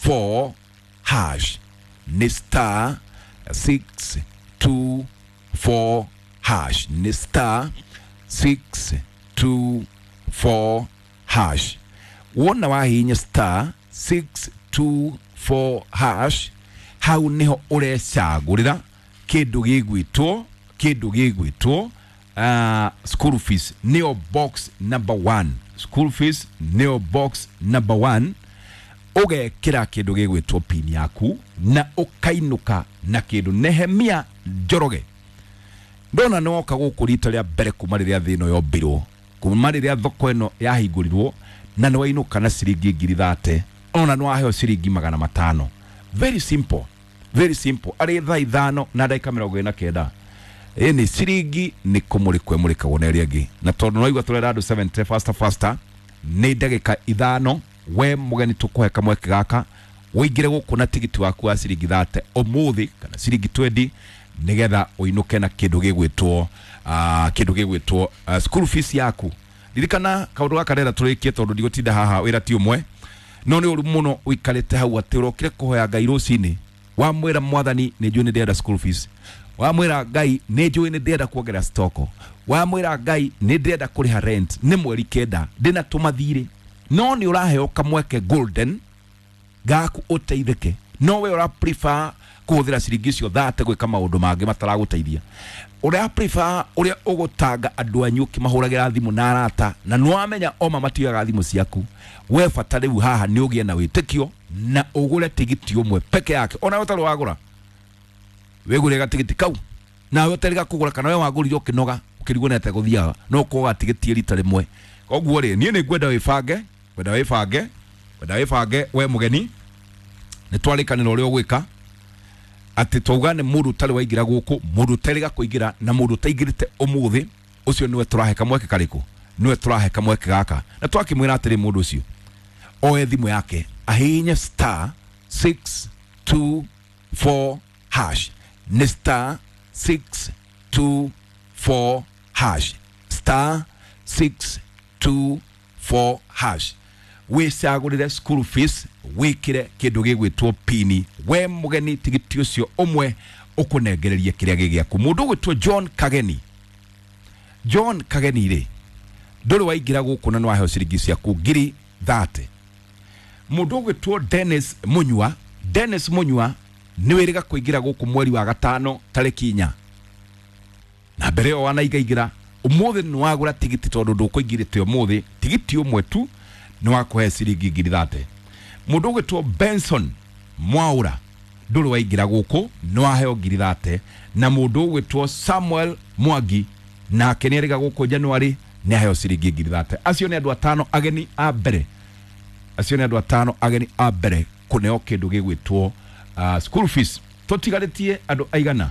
4 hash, nĩ star 6 2 4 hash, nĩ star 6 2 4 hash. Wona wahihinya star 6 2 4 hash, hau niho ũrecagũrĩra kĩndũ gĩgwĩtwo, kĩndũ gĩgwĩtwo school fees, nĩyo box number 1. School fees nĩyo box number 1. Ũgekĩra kĩndũ gĩgwĩtwo pin yaku na ũkainũka na kĩndũ. Nehemia Njoroge, ndona nĩ woka gũkũ rita rĩa mbere kuma rĩrĩa thĩ ĩno yombirwo, kuma rĩrĩa thoko ĩno yahingũrirwo, na nĩ wainũka na ciringi 30,000, ona nĩ waheo ciringi 500. Very simple, very simple. Arĩ thaa 5:49, ĩni ciringi nĩ kũmũrĩkwo ĩmũrĩkagwo na ĩrĩa ĩngĩ, na tondũ nĩwaigua tũrera andũ 70 faster faster, nĩ ndagĩka 5 we mũgeni tũkũhe kamweke gaka ũingĩre gũkũ na tigiti waku wa ciringi 30 ũmũthĩ kana ciringi 20, nĩgetha ũinũke na kĩndũ gĩgwĩtwo kĩndũ gĩgwĩtwo school fees yaku. Ririkana kaũndũ gaka ndĩrenda tũrĩkie, tondũ ndigũtinda haha wĩra ti ũmwe, no nĩ ũru mũno ũikarĩte hau atĩ ũrokire kũhoya Ngai rũcinĩ, wamwĩra mwathani nĩ njũĩ nĩ ndĩrenda school fees, wamwĩra Ngai nĩ njũĩ nĩ ndĩrenda kuongerera stoko, wamwĩra Ngai nĩ ndĩrenda kũrĩha rent, nĩ mweri 9 ndĩna tũmathirĩ, no nĩ ũraheo kamweke golden gaku ũteithĩke, no we ũra prefer kũhũthĩra ciringi icio 30 gwĩka maũndũ mangĩ mataragũteithia. Ũrĩa prefer ũrĩa ũgũtanga andũ anyu ũkĩmahũragĩra thimũ na arata, na nĩwamenya oma matioyaga thimũ ciaku. We bata rĩu haha nĩ ũgĩe na wĩtĩkio na ũgũre tigiti ũmwe peke yake, ona ũtarĩ wagũra wĩgũre gatigiti kau, nawe ũtarĩ kũgũra kana we wagũrire ũkĩnoga ũkĩrigwo nĩ atĩa gũthiaga, no ũkoga tigiti rita rĩmwe. Koguo rĩ, niĩ nĩ ngwenda wĩbange, ngwenda wĩbange, ngwenda wĩbange we mũgeni. Nĩ twarĩkanĩra ũrĩa ũgwĩka, atĩ twauga nĩ mũndũ ũtarĩ waingĩra gũkũ, mũndũ ũterĩga kũingĩra na mũndũ ũtaingĩrĩte ũmũthĩ, ũcio nĩwe tũrahe kamweke karĩkũ? Nĩwe tũrahe kamweke gaka. Na twakĩmwĩra atĩrĩ, mũndũ ũcio oe thimũ yake ahihinye star 6 2 4 hash, nĩ star 6 2 4 hash, star 6 2 4 hash, wĩcagũrĩre school fees, wĩkĩre kĩndũ gĩgwĩtwo pini. We mũgeni tigiti ũcio ũmwe ũkũnengererie kĩrĩa gĩ gĩaku. Mũndũ ũgwĩtwo John Kageni, John Kageni rĩ, ndũrĩ waingĩra gũkũ na nĩwaheo ciringi ciaku 30,000. Mũndũ ũgwĩtwo Dennis Munyua, Dennis Munyua nĩ wĩrĩga kũingĩra gũkũ mweri wa 5 tarĩki 4, na mbere ĩyo wanaingaingĩra. Ũmũthĩ nĩ wagũra tigiti, tondũ ndũkũingĩrĩte ũmũthĩ, tigiti ũmwe tu nĩ wakũhe ciringi 30,000. Mũndũ ũgwĩtwo Benson Mwaura ndũrĩ waingĩra gũkũ, nĩ waheo 30,000. Na mũndũ ũgwĩtwo Samuel Mwangi nake nĩ erĩga gũkũ January, nĩ aheo ciringi 30,000. Acio nĩ andũ 5 ageni a mbere, acio nĩ andũ 5 ageni a mbere kũneo kĩndũ gĩgwĩtwo school fees. Tũtigarĩtie andũ aigana?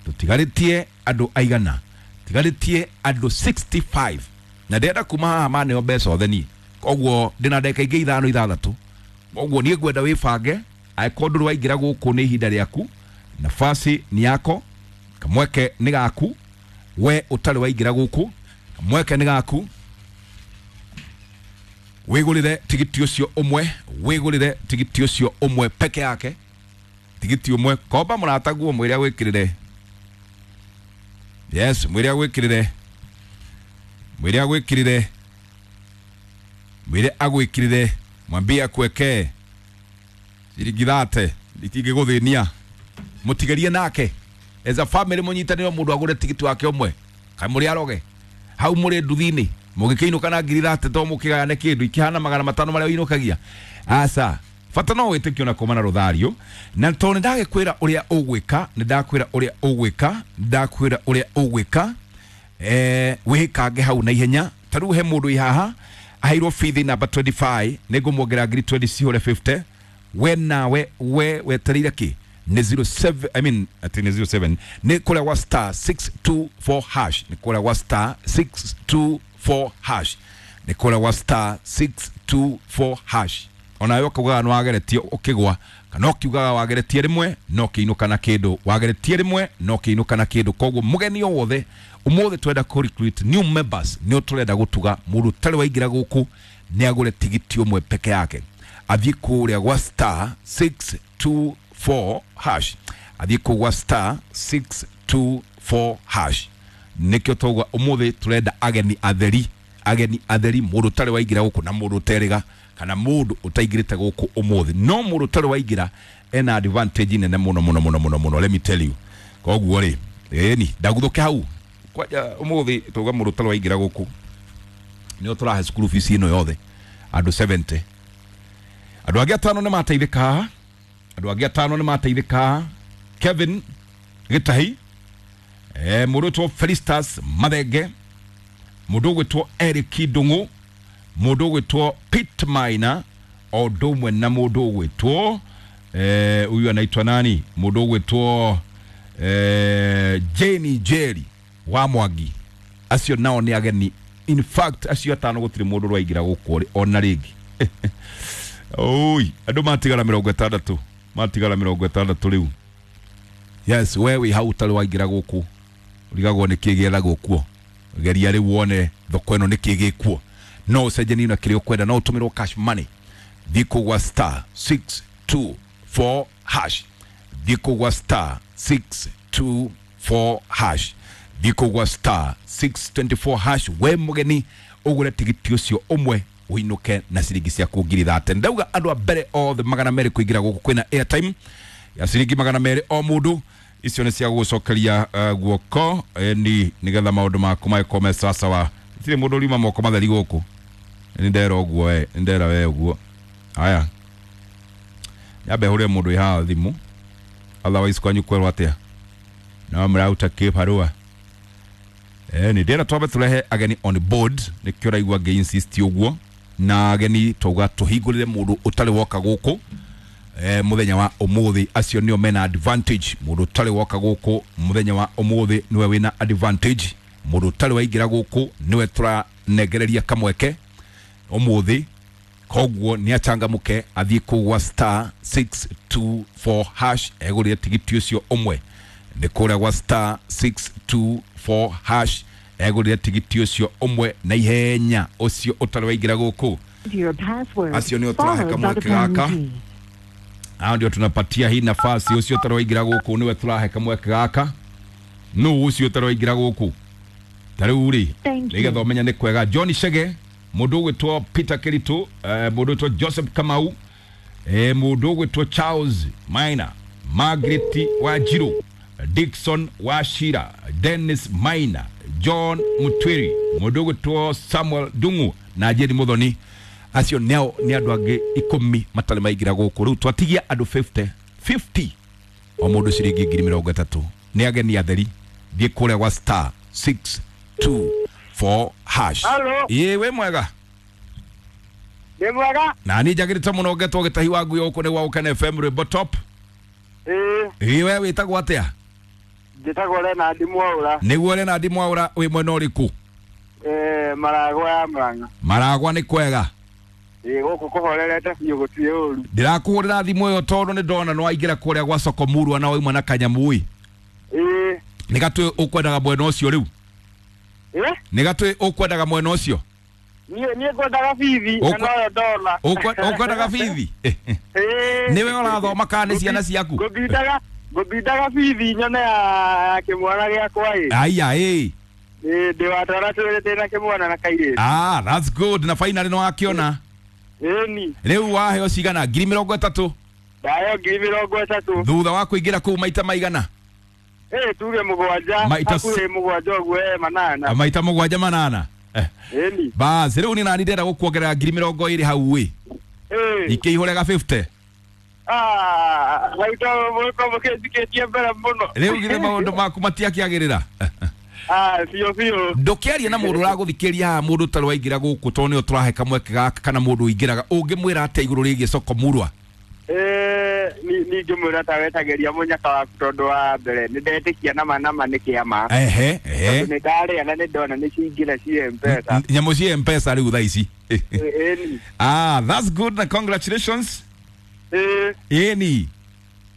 Tũtigarĩtie andũ aigana? Tigarĩtie andũ 65, na ndĩrenda kuma haha maneo mbeca othe niĩ, koguo ndĩna ndagĩka ingĩ 5 6. Koguo niĩ ngwenda wĩbange, angĩkorwo ndũrĩ waingĩra gũkũ nĩ ihinda rĩaku, nafasi ni yako, kamweke nĩ gaku. We ũtarĩ waingĩra gũkũ, kamweke nĩ gaku, wĩgũrĩre tigiti ũcio ũmwe, wĩgũrĩre tigiti ũcio ũmwe peke yake, tigiti ũmwe. Komba mũrataguo, mwĩre agwĩkĩrĩre. Yes, mwĩre agwĩkĩrĩre, mwĩre agwĩkĩrĩre, mwĩre agwĩkĩrĩre, mwambie akuwekee ciringi 30, itingĩgũthĩnia. Mũtigerie nake as a family, mũnyitanĩre, mũndũ agũre tigiti wake ũmwe. Kaĩ mũrĩ aroge hau mũrĩ nduthi-inĩ, mũgĩkĩinũka na 30,000, to mũkĩgayane kĩndũ ikĩhana 500 marĩa ũinũkagia? Aca, bata no wĩtĩkio na kuma na rũthario. Na tondũ nĩ ndagĩkwĩra ũrĩa ũgwĩka, nĩ ndakwĩra ũrĩa ũgwĩka, nĩ ndakwĩra ũrĩa ũgwĩka, wĩkange hau na ihenya. Ta rĩu he mũndũ wĩ haha aheirwo bithi namba 25, nĩ ngũmuongerera 20,000 cihũre 50. We nawe we wetereire kĩ? Nĩ 07, I mean ati nĩ 07, nĩ kũrĩa gwa star 624 hash, nĩ kũrĩa gwa star 624 hash, nĩ kũrĩa gwa star 624 hash. Onawe ũkaugaga nĩ wageretie ũkĩgwa, kana ũkiugaga wageretie rĩmwe no ũkĩinũka na kĩndũ, wageretie rĩmwe no ũkĩinũka na kĩndũ. Koguo mũgeni o wothe ũmũthĩ twenda kũ recruit new members, nĩ tũrenda gũtuga mũndũ ũtarĩ waingĩra gũkũ nĩ agũre tigiti ũmwe peke yake. Athiĩ kũrĩa gwa star 624 hash, athiĩ kũu gwa star 624 hash. Nĩkĩo twauga ũmũthĩ tũrenda ageni atheri, ageni atheri, mũndũ ũtarĩ waingĩra gũkũ na mũndũ ũterĩga kana mũndũ ũtaingĩrĩte gũkũ ũmũthĩ. No mũndũ ũtarĩ waingĩra ena advantage nene mũno mũno mũno mũno mũno, let me tell you. Koguo rĩ, ĩni ndaguthũke hau kwanja ũmũthĩ twauga mũndũ ũtarĩ waingĩra gũkũ nĩo tũrahe school fees ĩno yothe andũ 70. Andũ angĩ atano nĩ mateithĩka haha, andũ angĩ atano nĩ mateithĩka haha. Kevin Gĩtahi, mũndũ ũgwĩtwo Felistas Mathenge, mũndũ ũgwĩtwo Eric Ndung'u, mũndũ ũgwĩtwo Pete Maina, o ũndũ ũmwe na mũndũ ũgwĩtwo huyu anaitwa nani, mũndũ ũgwĩtwo Jane Jerry wa Mwangi. Acio nao nĩ ageni. In fact acio atano gũtirĩ mũndũ ũraingĩra gũkũ ona rĩngĩ. Oi, andũ matigara 60, matigara 60 rĩu. Yes, we wĩ hau ũtarĩ waingĩra gũkũ ũrigagwo nĩ kĩ gĩethagwo kuo. Geria rĩu wone thoko ĩno nĩ kĩ gĩkuo. No ũcenjanie na kĩrĩa ũkwenda, no ũtũmĩrwo cash money. Thiĩ kũu gwa star 624 hash, thiĩ kũu gwa star 624 hash, thiĩ kũu gwa star 624 hash. We mũgeni ũgũre tigiti ũcio ũmwe ũinũke na ciringi ciaku 30,000. Ndauga andũ a mbere othe 200 kũingĩra gũkũ kwĩna airtime ya ciringi 200 o mũndũ. Icio nĩ cia gũgũcokeria guoko ni nĩgetha maũndũ maku magĩkorwo me sawasawa. Gũtirĩ mũndũ ũriuma moko matheri gũkũ, nĩ ndera ũguo we, nĩ ndera we ũguo. Haya, nyambe hũrĩre mũndũ wĩ haha thimũ, otherwise kwanyu kwerwo atĩa? No mũraruta kĩbarũa. Nĩ ndĩrenda twambe tũrehe ageni on board, nĩkĩo ũraigua ngĩ insist ũguo. Na ageni twauga tũhingũrĩre mũndũ ũtarĩ woka gũkũ mũthenya wa ũmũthĩ. Acio nĩo mena advantage. Mũndũ ũtarĩ woka gũkũ mũthenya wa ũmũthĩ nĩwe wĩna advantage. Mũndũ ũtarĩ waingĩra gũkũ nĩwe tũranengereria kamweke ũmũthĩ. Koguo nĩ achangamũke athiĩ kũu gwa star 624 hash egũrĩre tigiti ũcio ũmwe. Nĩ kũrĩa gwa star 624 hash egũrĩre tigiti ũcio ũmwe na ihenya, ũcio ũtarĩ waingĩra gũkũ. Acio nĩo tũrahe kamweke gaka. Hao ndio tunapatia hii nafasi. Ũcio ũtarĩ waingĩra gũkũ nĩwe tũrahe kamweke gaka. Nũ ũcio ũtarĩ waingĩra gũkũ? Ta rĩu rĩ, nĩgetha ũmenye nĩ kwega. John Chege, mũndũ ũgwĩtwo Peter Kiritu, mũndũ ũgwĩtwo Joseph Kamau, mũndũ ũgwĩtwo Charles Maina, Margaret Wanjiru, Dickson Wachira, Dennis Maina, John Mutwiri, mũndũ ũgwĩtwo Samuel Ndung'u na Jane Muthoni. Acio nao nĩ andũ angĩ 10 matarĩ maingĩra gũkũ. Rĩu twatigia andũ 50 50 o mũndũ ciringi 30,000. Nĩ ageni atheri. Thiĩ kũrĩa gwa star 624 hash. Halo. Ĩĩ, wĩ mwega? Nĩ mwega. Na niĩ njagĩrĩte mũno ngetwo Gĩtahi wa Ngui gũkũ nĩ gwa Gũkena FM rwĩmbo top. Ĩĩ. Ĩĩ, we wĩtagwo atĩa? Njĩtagwo Leonard Mwaũra. Nĩguo Leonard Mwaũra, wĩ mwena ũrĩkũ? Maragwa ya Murang'a. Maragwa nĩ kwega? Ĩĩ, gũkũ kũhorerete biũ, gũtirĩ ũru. Ndĩrakũhũrĩra thimũ ĩyo tondũ nĩ ndona nĩ waingĩra kũrĩa gwa soko murwa na wauma na kanyamũ ĩ. Ĩĩ. Nĩ gatwĩ ũkwendaga mwena ũcio rĩu? Ĩĩ? Nĩ gatwĩ ũkwendaga mwena ũcio? Niĩ ngwendaga bithi, na noyo ndona. Ũkwendaga bithi? Ĩĩ. Nĩwe ũrathoma kana nĩ ciana ciaku? Ngũthindaga bithi nyone ya kĩmwana gĩakwa ĩ. Aya, ĩ. Ĩĩ, ndĩ wa twana twĩrĩ, ndĩ na kĩmwana na kairĩtu. Ah, that's good. Na finally nĩ wakĩona. Ĩni. Rĩu waheo cigana? 30,000. Ndaheo 30,000. Thutha wa kũingĩra kũu maita maigana? Ĩĩ, tuge 7. Hakuhĩ 7 ũguo, 8. Maita 7 8. Ĩni. Bas, rĩu nĩ nani ndĩrenda gũkuongerera 20,000 hau ĩ. Ĩĩ. Ikĩihũre ga 50. Ah, hau to mũgĩkorwo mũkĩnjikĩtie mbere mũno. Rĩu githĩ maũndũ maku matiakĩagĩrĩra? Ah, biũ biũ. Ndũkĩarie na mũndũ ũragũthikĩrĩria haha, mũndũ ũtarĩ waingĩra gũkũ tondũ nĩo tũrahe kamweke gaka, kana mũndũ ũingĩraga, ũngĩmwĩra atĩa igũrũ rĩgiĩ soko murwa? Ningĩmwĩra ta wetagĩria mũnyaka waku tondũ wa mbere nĩ ndetĩkia nama nama nĩ kĩama. Ehe, ehe. Tondũ nĩ ndarĩa na nĩ ndona nĩ ciingĩra ciĩ M-Pesa. Nyamũ ciĩ M-Pesa rĩu thaa ici. Ĩni. Ah, that's good na congratulations. Ĩĩ. Ĩni.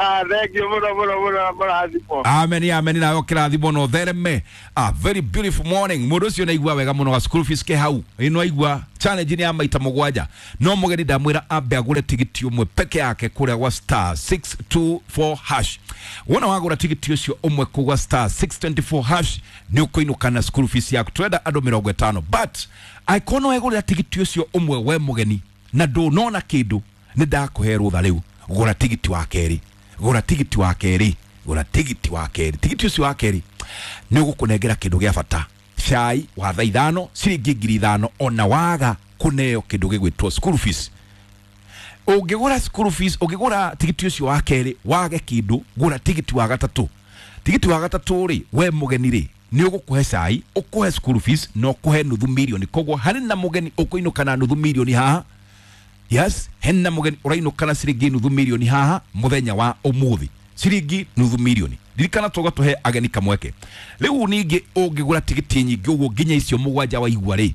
Thank you muno muno muno, mũrathimwo. Amen, amen, nawe kĩrathimo no thereme. A very beautiful morning. Mũndũ ũcio nĩaigua wega mũno, ga school fees ke hau ĩno, aigua challenge nĩ ya maita mũgwanja. No mũgeni ndamwĩra ambe agũre tigiti ũmwe peke yake kũrĩa gwa star 624 hash. Wona wagũra tigiti ũcio ũmwe kũu gwa star 624 hash, nĩ ũkũinũka na school fees yaku. Twenda andũ 50, but angĩkorwo no wegũrĩra tigiti ũcio ũmwe we mũgeni na ndũnona kĩndũ, nĩ ndakũhe rũtha rĩu. Gũra tigiti wa kerĩ, gũra tigiti wa kerĩ, gũra tigiti wa kerĩ. Tigiti ũcio wa kerĩ nĩ ũgũkũnengera kĩndũ gĩa bata, cai wa thaa 5, ciringi 5,000. Ona waga kũneo kĩndũ gĩgwĩtwo school fees, ũngĩgũra school fees, ũngĩgũra tigiti ũcio wa kerĩ wage kĩndũ, gũra tigiti wa gatatũ. Tigiti wa gatatũ rĩ, we mũgeni rĩ, nĩ ũgũkũhe cai, ũkũhe school fees na ũkũhe nuthu mirioni. Koguo harĩ na mũgeni ũkũinũka na nuthu mirioni haha. Yes, hena mũgeni ũrainũka na ciringi nuthu mirioni haha mũthenya wa ũmũthĩ, ciringi nuthu mirioni. Ririkana tũga tũhe ageni kamweke. Rĩu ningĩ ũngĩgũra tigiti nyingĩ ũguo nginya icio mũgwanja waigua rĩ,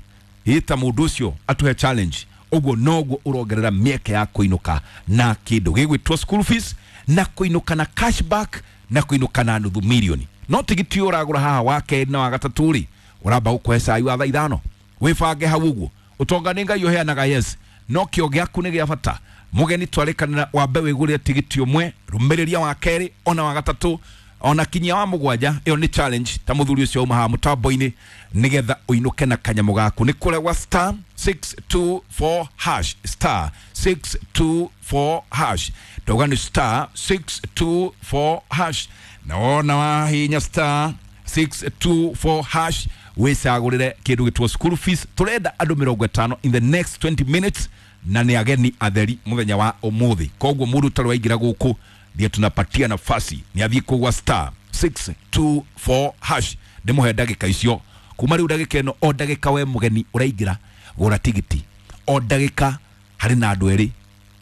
ĩta mũndũ ũcio atũhe challenge ũguo, noguo ũrongerera mĩeke ya kũinũka na kĩndũ gĩgwĩtwo school fees, na kũinũka na cashback, na kũinũka na nuthu mirioni. No tigiti ũyũ ũragũra haha wa kerĩ na wa gatatũ rĩ, ũramba gũkũhe cai wa thaa 5. Wĩbange hau ũguo. Ũtonga nĩ Ngai ũheanaga, yes, no kĩo gĩaku nĩ gĩa bata. Mũgeni, twarĩkanĩra wambe wĩgũrĩre tigiti ũmwe, rũmĩrĩria wa kerĩ, ona wa gatatũ, ona kinyia wa mũgwanja. Ĩyo nĩ challenge ta mũthuri ũcio auma haha mũtambo-inĩ, nĩgetha ũinũke na kanyamũ gaku. Nĩ kũrĩa gwa star 624 hash, star 624 hash. Ndauga nĩ star 624 hash. Na wona wahinya star 624 hash, wĩcagũrĩre kĩndũ gĩtwo school fees. Tũrenda andũ 50 in the next 20 minutes, na nĩ ageni atheri mũthenya wa ũmũthĩ. Koguo mũndũ ũtarĩ waingĩra gũkũ ndiye tunapatia nafasi nĩ athiĩ kũgwa star 624 hash. Ndĩmũhe ndagĩka icio kuma rĩu, ndagĩka ĩno, o ndagĩka we mũgeni ũraingĩra gũra tigiti, o ndagĩka harĩ na andũ erĩ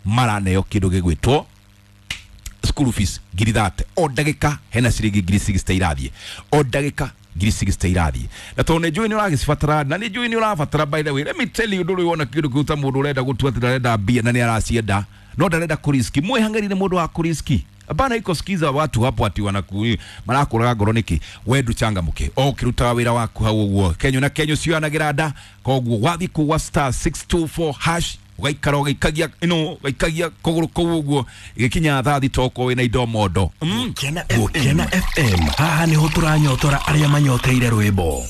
maraneo kĩndũ gĩgwĩtwo school fees 30,000. O ndagĩka hena ciringi 60,000 irathiĩ, o ndagĩka 60,000 irathiĩ. Na tondũ nĩ njũĩ nĩ ũragĩcibatara, na nĩ njũĩ nĩ ũrabatara. By the way, let me tell you, ndũrĩ wona kĩndũ kĩu ta mũndũ ũrenda gũtua atĩ ndarenda mbia na nĩ aracienda no ndarenda kũriski. Mwĩhang'ĩri nĩ mũndũ wa kũriski. Hapana, iko sikiza watu hapo ati wanaku marakũraga ngoro nĩkĩ. We ndũchangamũke o ũkĩrutaga wĩra waku hau ũguo. Kenyo na kenyo cioyanagĩra nda. Koguo wathiĩ kũgwa star 624 hash, ũgaikara ũgĩikagia ĩno, ũgaikagia kũgũrũ kũu ũguo, ĩgĩkinya thaa 6 okorwo wĩna indo mondo. Gũkena FM, haha nĩho tũranyotora arĩa manyoteire rwĩmbo.